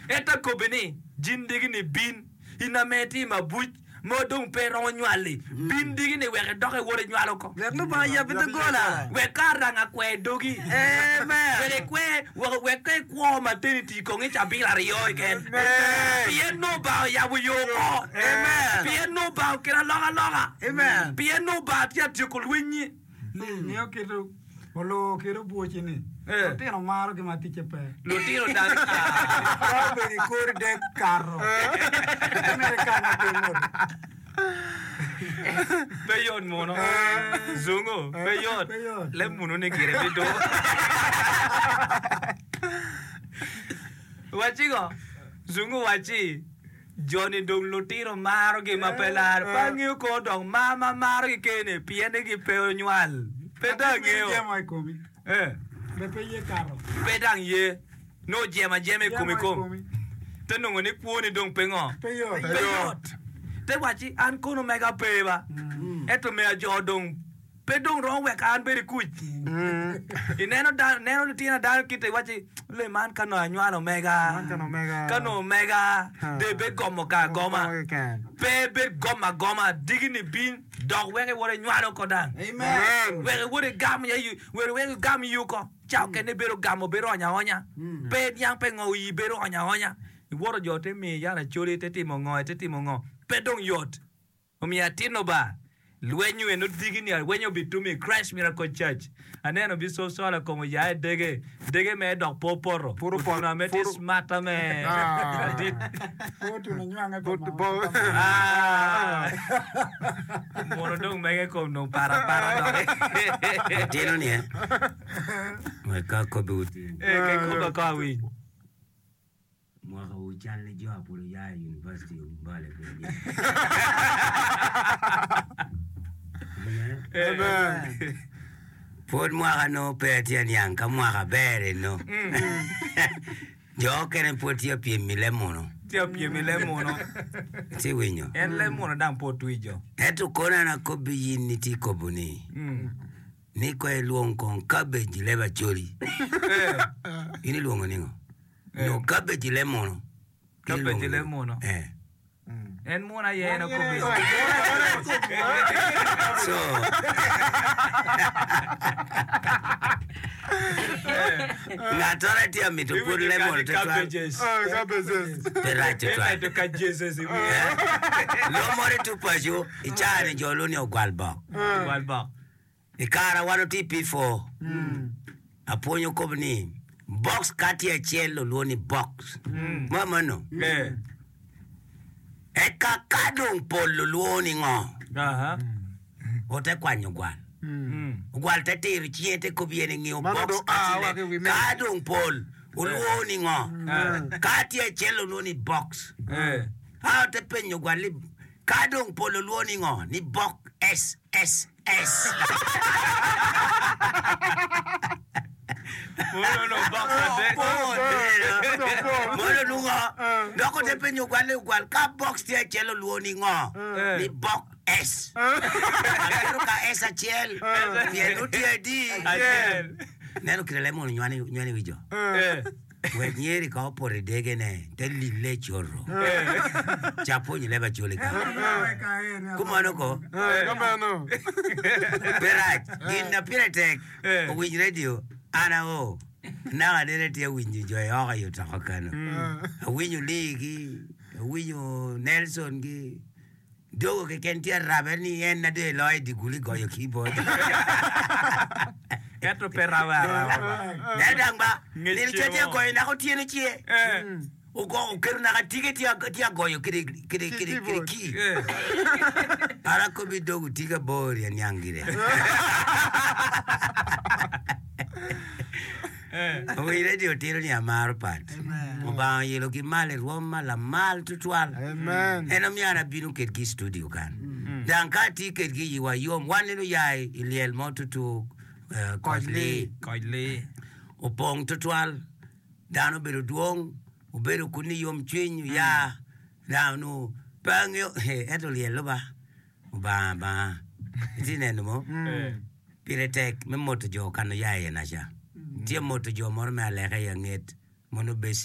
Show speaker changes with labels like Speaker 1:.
Speaker 1: Ento akobbi ni, Jin digi-ni bin, in ame itye i mabuc ma dong pe iromo nywal-li, bin digi-ni wek idok iwot inywal oko.
Speaker 2: Wek Lubanga oyabbi doggola.
Speaker 1: Wek ka aranga kwer dogi.
Speaker 2: Amen.
Speaker 1: Wek ikwer, wek, wek ka ikwo maternity kong i cabit aryo keken. Pien nongo Lubanga oyabo yo oko.
Speaker 2: Amen.
Speaker 1: Pien nongo Lubanga okelo alokaloka.
Speaker 2: Amen.
Speaker 1: Pien nongo Lubanga tye ka tyeko lwennyi.
Speaker 3: Ingeyo kit oloo kit obwoci ni lutino maro gi ma ticce pe.
Speaker 1: Lutino dang
Speaker 3: Ka obedo i kor dek kato. Pe myero ikat matin mot.
Speaker 1: Pe yot muno. Zungu, pe yot.
Speaker 3: Pe yot.
Speaker 1: Leb munu ni gire bido. Wacci ngo? Zungu wacci. Jo-ni dong lutino marogi ma pe laro. Pe angeyo kono dok mar ma marogi kene pien ni gipe onywal. Pe dong angeyo. Pe dang ye nongo jemo ajema i komi kom. Te nongo ni kwoni dong pe ngo? Pe yot. Te wacci an kono mega pe ba. Ento mega jo dong Pe dong romo weko an bedo i kuc. Ineno dano, ineno litino dano kite iwacci, le man ka nongo anywalo omega, ka nongo omega de bed gomo ka agoma. Pe bed gomo agoma, digi-ni bin dok wek iwot inywalo oko dang. Wek iwot igam ya, wek igam yi oko. Ca okene bedo gamo bedo onya aonya. Pe niang pe ngo iyi bedo onya aonya. Iwoto jo te miyi yat acoli te timo ngo te timo ngo. Pe dong yot. Omiyo atino ba, lweny eno digi ni alwenyo bitum i Christ Miracle Church. Aneno Bishop Sola kom oya i dege, dege mere dok pe opoto. Otuno ame tye smart ame ladit. Ah, Mono dong mege kom dong pat apata doki.
Speaker 4: Atino ni eh, wek ka akobbi otin.
Speaker 1: Eh, ka ikoba ko awiny.
Speaker 4: Mwaka wu cal ni jo apud oya i university Mbale pud Amen. Pud mwaka no pe atye aniang ka mwaka ber eno. Jo okene pud tye pyem i leb munu.
Speaker 1: Tye pyem i leb munu.
Speaker 4: Ci winyo.
Speaker 1: En leb munu dang pe otwijo.
Speaker 4: Ento kono an akobbi in ni tye kobo ni. Ni ko ilwong kong cabbage i leb Acholi. In ilwongo ningo? Nyo cabbage i leb munu.
Speaker 1: Cabbage i leb munu.
Speaker 4: Eh.
Speaker 1: En munu aye en okobo.
Speaker 4: So. Ngat oro tye amito pwod leb munu tutwal. Pe rac tutwal. Lok moro i tuk paco i caa-ni jo lwongo ni ogwal bok.
Speaker 1: Ogwal bok.
Speaker 4: I kare a wan watye i P4, apwonyo kop ni box ka tye acel olwongo ni box. Ma meno. Eka ka dong pol olwongo ni ngo? Ote kwanyo ogwal. Ogwal te tiro cinge te kop iye ni ngiyo box ka tye ka dong pol olwongo ni ngo? Ka tye acel olwongo ni box. A ote penyo ogwal ni ka dong pol olwongo ni ngo? Ni box SS. Mono nungo dok ote penyo ogwal ni ogwal ka box tye acel olwongo ni ngo? Ni bok S. Aketo ka S acel pien nongo tye adi? Neno kite leb mono nywani wi jo. Wek nyeri ka opoto i degene, te lille coto. Cak pwonyo leb Acholi ka. Kumano ko? Pe rac. Gin na pire tek, owiny radio, an ao, naka nene atye awinyo jo i oko i otoko kano. Awinyo Lee gi, awinyo Nelson gi. Dogo keken tye arabe ni en na dong eloyo i dye gulu igoyo keyboard.
Speaker 1: Ento pe rabe araba ba.
Speaker 4: Ento dang ba,
Speaker 1: Ngec
Speaker 4: nino ca tye
Speaker 1: cemo.
Speaker 4: agoyo naka otyeno ce. Ogo oketo naka tike tye tye agoyo kede kede kede kede key. An akobi dogo tika bor-ri aniang gire. Owiny radio tito ni amaro pat. Obanga oyelo ki malo i rwom ma lamal tutwal. En omiyo an abino kedgi i studio kan. Dang ka atye kedgi iwa yom. Wan nino oya i lyel mo tutu eh, koc lee.
Speaker 1: Koc lee.
Speaker 4: Opong tutwal. Dano obedo dwong. Obedo kun ni yomcwiny oya. Dano onongo pe angeyo ento lyel luba. Obanga banga. Itye neno mo? Pire tek me moto jo kan oya iye naca. Tye moto jo moro me aleka i anget mono beci.